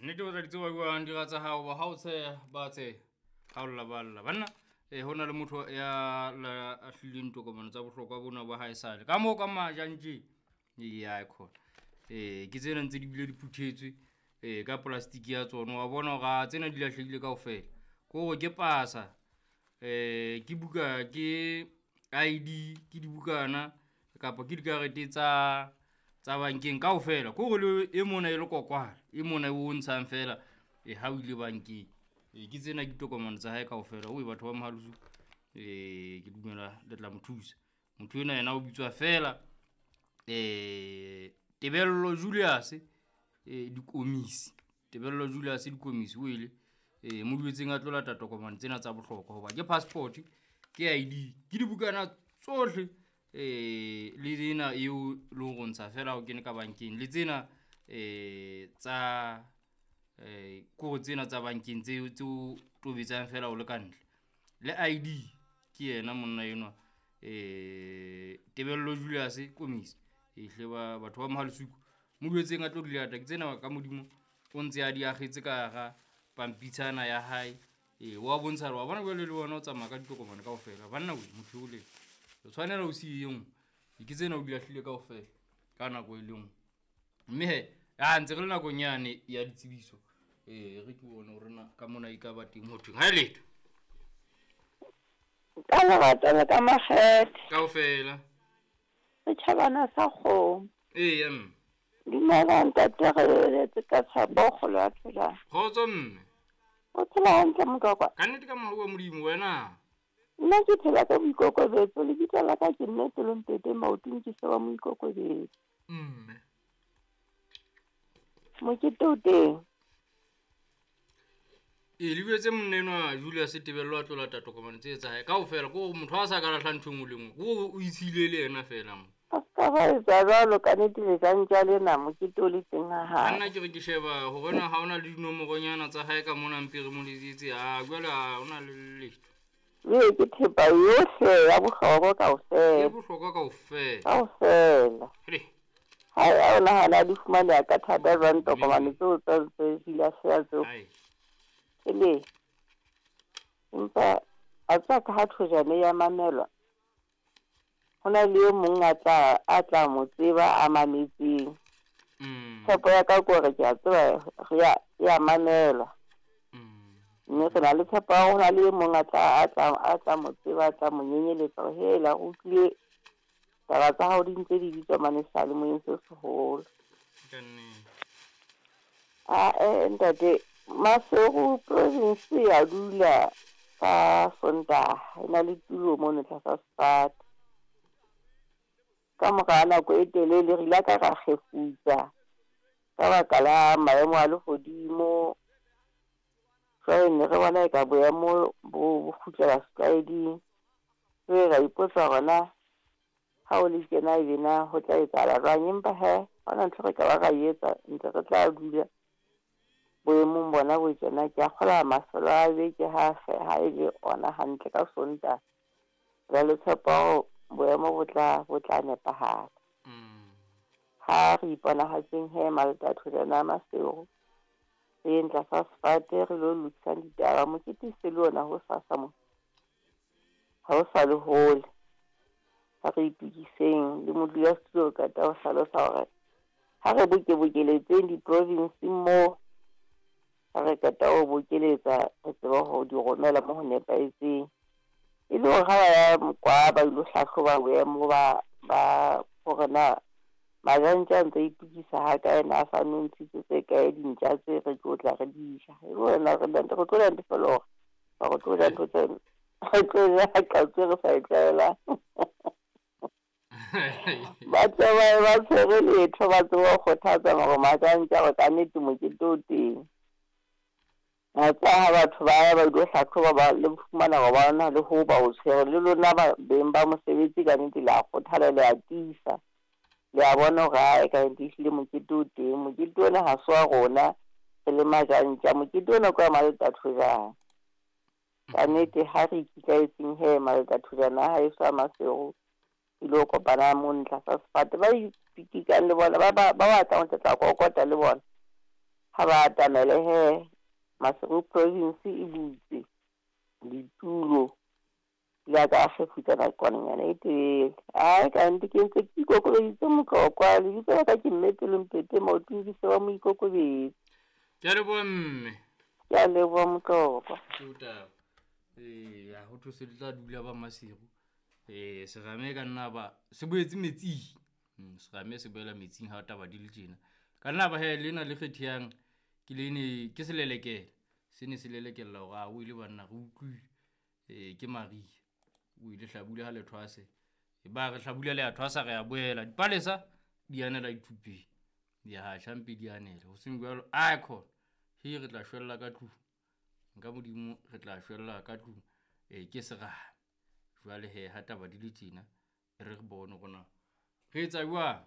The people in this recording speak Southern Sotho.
Nnete o tla di tseba jwang dira tsa hao ba ha o tsheha ba tsheha, ha o lla ba lla. Banna ho na le motho ya lahlileng tokomane tsa bohlokwa bona ba hae sale ka moo ka majang tje. Eya khona. Ke tsena ntse di bile di phuthetswe ka plastic ya tsona. Wa bona hore a tsena di lahlehile kaofela. Ke hore ke pasa, ke buka, ke ID, ke dibukana kapa ke dikarete tsa bankeng kaofela. Ke hore le e mona e le kokwala, e mona o ntshang fela ha o ile bankeng. Ke tsena ke ditokomane tsa hae kaofela. Oi batho ba Mohale's Hoek, ke dumela le tla mo thusa. Motho ena yena o bitswa fela Tebello Julius Dikomisi. Tebello Julius Dikomisi o ile mo duetseng a tlo lata tokomane tsena tsa bohlokwa hoba ke passport, ke ID, ke dibukana tsohle le ena eo le ho ntsha fela o kene ka bankeng, le tsena tsa kore tsena tsa bankeng tse tseo tobetsang fela o le ka ntle. Le ID ke yena monna enwa Tebello Julius Komisi. Ehle ba batho ba Mohale's Hoek mo duetseng a tlo di lata. Ke tsena ka modimo o ntse a di akgetse ka hara pampitshana ya hae. Wa bontsha hore wa bona jwale le wena o tsamaya ka ditokomane kaofela. Banna we motho o le o tshwanela o siye e nngwe. Ke tsena o di lahlile kaofela ka nako e le nngwe. Mme he a ntse re le nakong yane ya ditsebiso. Re ke bone hore na ka mona e ka ba teng ho thweng. Ha e letho. Ka lerato le ka makgethe. Kaofela. Setjhabana sa kgomo. Eya mme. Dumela ntate, re eletse ka tshepo kgolo ya phelang. Kgotso mme. O phela hantle mokakwa? Ka nnete ka mohau wa Modimo wena. Nna ke phela ka boikokobetso, lebitso la ka ke nne Pelompete maotong ke se wa moikokobetso. Mme. Mokete o teng. Le buetse monna enwa Julius Tebello a tlo lata tokomane tse tsa hae kaofela. Ko motho a sa ka lahla ntho e nngwe le nngwe, ko o itshile le yena fela mo. A ska ba etsa jwalo ka nnete lejantja lena mokete o le teng ha hae. Nna ke re ke sheba hore na ha ona le dinomoronyana tsa hae ka mona mpe re mo letsetse. A jwale ha ona le letho. Ee, ke thepa yohle ya bohlokwa kaofela. Ya bohlokwa kaofela. Kaofela. Re. Ha ya o nahana di fumaneha ka thata jwang tokomane tseo tsa tse di lahleha tseo. Ai. Ele. Empa a tswa ka ha thojane ya mamelwa. Ho na le e mong a tla mo tseba a mametseng. Tshepo ya ka ke hore ke a tseba re ya mamelwa. Mme re na le tshepo ya hore ho na le e mong a tla mo tseba, a tla mo nyenyeletsa hore hela o utlwile taba tsa hao di ntse di bitswa mane seyalemoyeng se seholo. Ka nnete. Ntate, Maseru province ya dula ka Sontaha, e na le tulo mono tlasa sefate. Ka mora nako e telele re ile ka ra kgefutsa ka baka la maemo a lehodimo. Jwale ne re bona eka boemo bo kgutlela setlwaeding. Jwale ra ipotsa hore na ha o le tjena ebe na ho tla etsahala jwang, empa he ha hona ntho re ka ba ra e etsa, ntse re tla dula boemong bona bo tjena. Ke a kgolwa mafelo a beke ha e le ona hantle ka Sontaha. Re le tshepo hore boemo bo tla nepahala. Ha re iponahatseng he Malta Thojana Maseru, re yeng tlasa sefate re lo lokisang ditaba. Mokete se le ona ho sasa mo, ha o sa le hole. Ha re itukiseng le modulasetulo o qeta ho hlalosa hore ha re bokebokeletseng di-province moo, ha re qeta ho bokeletsa re tsebe ho di romela mo ho nepahetseng. E le hore ha ba ya kwa ba ilo hlahloba boemo ba hore na majantja a ntse a itukisa ha kae, na a sa nontshitse tse kae dintja tse re tlo tla re di ja. E le hore na re tlo ja ntho feela hore re tlo ja ntho tse re tlo ja qatso re sa e tlwaelang. Ba tseba ba tshwere letho, ba tsebe ho kgothatsa hore majantja hore ka nnete mokete o teng. Tsa ha batho ba ya ba ilo hlahloba ba le fumana hore ba na le ho ba o tshwere, le lona ba beng ba mosebetsi ka nnete le a kgothala, le a tiisa. Le a bona hore ae ka nnete ehlile mokete o teng. Mokete ona ha se wa rona re le majantja, mokete ona ke wa Malta Thojana. Ka nnete ha re ikitlaetseng he Malta Thojana ha heso a Maseru, ilo kopana mo tlasa sefate. Ba ipitikang le bona ba batlang ho tla kokota le bona. Ha ba atamele he, Maseru province e butse ditulo le ka kgefutsa nakwananyana e telele. Ai kannete ke ntse ke ikokobeditse Motlokwa, lebitso la ka ke mme Pelompete maotong ke se wa moikokobetsi. Ke a leboha mme. Ke a leboha Motlokwa. Ke taba. Eya, ho thwe se tla dula ba Maseru. Serame ka nna ba se boetse metsing. Serame se boela metsing ha taba di le tjena. Ka nna ba he lena le kgethehang ke lene ke selelekela. Se ne se lelekella hore a o ile banna re utlwile. Ke Maria. O ile hlabula ha le thwase. Ba re hlabula le a thwasa re a boela. Dipalesa di anela dithupeng. Di a tjha mpe di anele. Ho seng jwalo icon. He re tla shwella ka tlung. Nka Modimo re tla shwella ka tlung. Ke serame. Jwale he ha taba di le tjena re re bone rona re etsa jwang.